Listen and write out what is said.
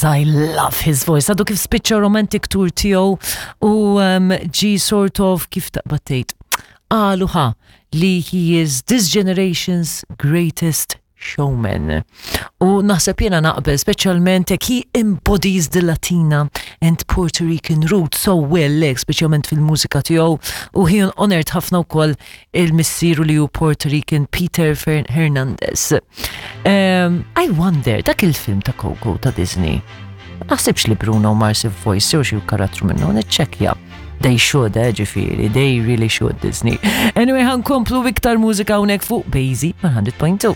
Mars, I love his voice. Għadu kif spiċċa romantic tour tiegħu u ġi sort of kif taqbad tgħid. Qalu ħa li he is this generation's greatest showman. U naħseb jiena naqbel, speċjalment hekk he embodies the Latina and Puerto Rican roots so well, hekk speċjalment fil-mużika tiegħu u he honored ħafna wkoll il-missieru li hu Puerto Rican Peter Hernandez. I wonder, dak il-film ta' Coco ta' Disney, ma naħsibx li Bruno Mars voice jew xi karattru minnu, niċċekkja. They should, ġifieri, they really should Disney. Anyway, ħankomplu iktar mużika hawnhekk fuq Bazy 100.2.